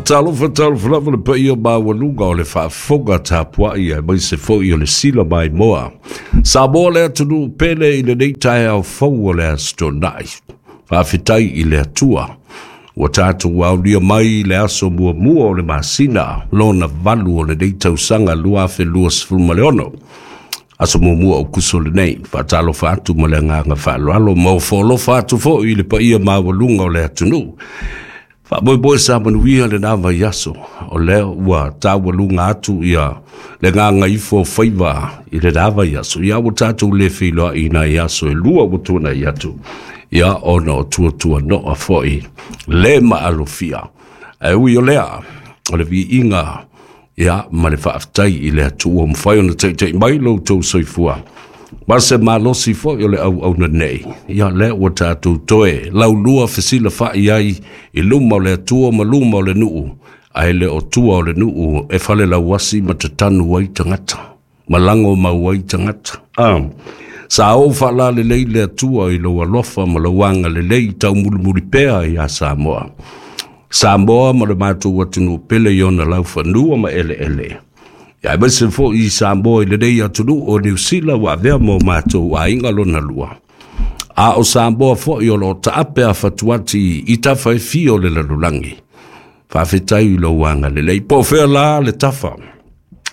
Faatalofa talofa lava le paia maualuga o le faafofoga tapuai aemaise foi o le sila maimoa. Samoa le atunuu pele i lenei taeao fou o le Aso Toonai. Faafetai i le Atua ua tatou aulia mai le aso muamua o le masina lona valu o lenei tausaga 2026. Aso muamua o Kuso lenei, faatalofa atu ma le agaga faaaloalo ma ofo atu foi i le paia maualuga o le atunuu. Faamoemoe sa manuia lena vaiaso, o lea ua taualuga atu ia le gagaifo faiva i lena vaiaso. Ia ua tatou le feiloai i nai aso e lua ua tuanai atu, ia ona o tuatuanoa foi le maalofia. Ae ui o lea, o le viiga ia ma le faafetai i le Atua ua mafai ona taitai mai lo outou soifua ma se malosi foi o le auauna nei. Ia lea ua tatou toe laulua fesilafai ai i luma o le Atua ma luma o le nuu, ae le o tua o le nuu e falelauasi ma tatanu ai tagata, ma lago mau ai tagata. Sa ou faalalelei le Atua i lou alofa ma lou agalelei taumulimuli pea ia Samoa. Samoa ma le matou atunuu pele i ona laufanua ma eleele. Ia aemaise foi i Samoa i lenei atunuu o Niu Sila ua avea mo matou aiga lona lua. A o Samoa foi o lo o taape a fatuati i tafa e fia o le lalolagi. Faafetai i lou agalelei. Po o fea la le tafa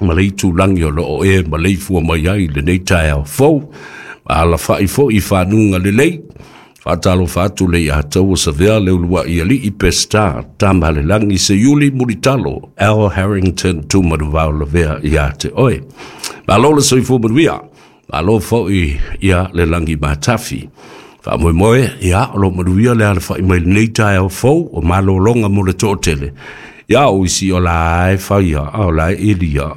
ma le itulagi o lo o e maleifua mai ai i lenei taeao fou. Ma alafai foi i fanuga lelei. Faatalofa atu le ia taua savea le uluai alii Peseta, Tamalelagi Seiuli Mulitalo, Al Harrington Tumanuvao Lavea ia te oe. Malo le soifua manuia, malo foi ia le lagi matafi. Faamoemoe, ia, o lo manuia le alafai mai lenei taeao fou o malologa mo le toatele. Ia o isi o la e faia, o la e ilia.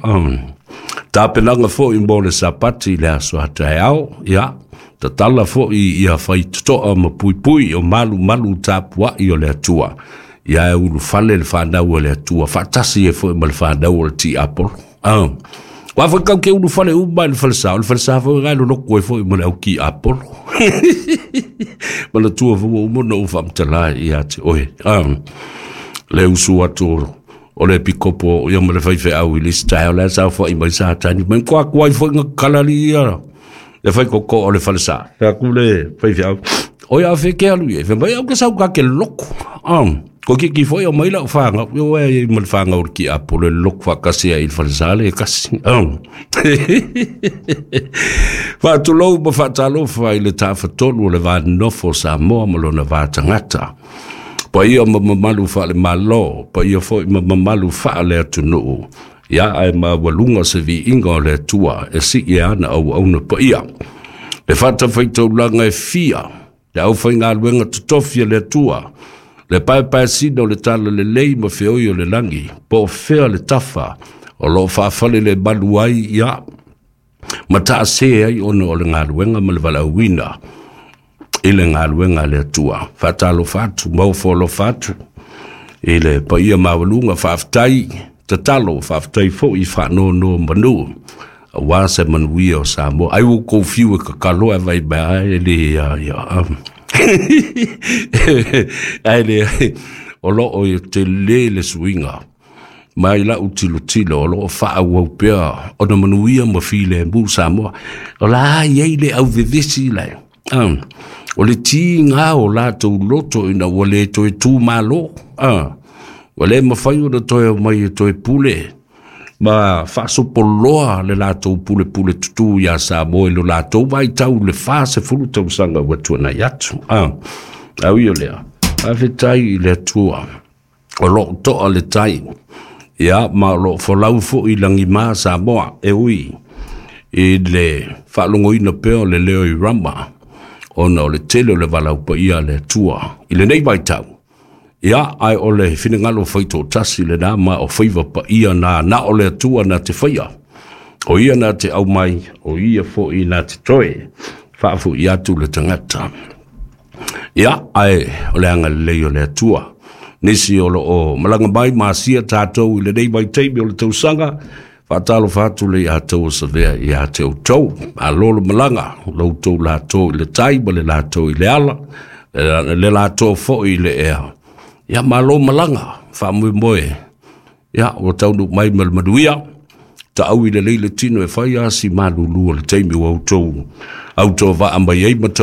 Tapenaga foi mo le sapati le aso a taeao, ia, tatala foi ia fai totoa ma puipui o malu malu tapuai o le Atua. Ia e ulufale le whanau o le Atua, faatasi e foi ma le whanau o le tiapolo. Wa foi kau ke ulufale uma i le falesa, o le falesa foi ngai lo loko e foi ma le au ki apolo. Ma le tua foi uma na u whamtala ia te oe. Le usu atu o le pikopo ia ma le whaiwhe au i lista o le sa foi mai sa tani. Mai kua kuai foi nga kalali ia. Le whai koko o le falesa. Fea ku le whaiwhe au. O ia whe ke alu ia. Whe mai au ke sau ka ke loko. Ko ki ki foi o mai lau whanga. Yo e ma le whanga o ki apo le loko whakasi ai i le falesa le kasi. Whaatulou ma whaatalofa i le tāwhatolu o le vānofo Samoa ma lona vātangata. Paia ma mamalu whaale malo, paia foi ma mamalu whaale atunuu. Ia ae maualuga se viiga o le Atua e sii ana auauna paia. Le fatafaitaulaga e fia, le aufaigaluega totofi a le Atua, le paepaesina o le talalelei ma feoi o le lagi, po o fea le tafa o loo faafale le malu ai ia, ma taasē ai ona o le galuega ma le valaauina i le galuega a le Atua. Faatalofa atu, maofoalofa atu i le paia maualuga, faafetai tatalo, faafetai foi i faanono manu aua se manuia o Samoa. Ai ua kou fiu e kakalo e vai mea ai e le ia ia. Ai le o loo i te le le suiga mai lau tilotilo o loo faaauau pea ona manuia ma filemu Samoa. O la ai ai le auvevesi lai. O le tiga o latou loto ina ua le toe tumalo. Ua le mafai ona toe mai e toe pule ma faasopoloa le latou pulepule tutū iā Samoa i lo latou vaitau le 40 tausaga ua tuanai atu. Au ia lea, faafetai i le Atua o loo toa le tai, ia ma o loo folau foi lagimā Samoa e ui i le faalogoina pea o le leo i Rama ona o le tele o le valaau paia a le Atua i lenei vaitau. Ia, ae o le finagalo faitoatasi lena ma o faiva paia na na o le Atua na te faia. O ia na te aumai, o ia foi na te toe faafoi atu le tagata. Ia, ae o le agalelei o le Atua. Nisi o loo malaga mai ma asia tatou i lenei vaitaimi o le tausaga, faatalofa atu le ia tau o savea ia te outou. Malo le malaga, lo outou latou i le tai ma le latou i le ala, le latou foi i le ea. Ia malo malaga, Faamoemoe ia ua taunuu mai ma le manuia. Taau i lelei le tino e fai a si malulu o le taimi ua outou autovaa mai ai ma.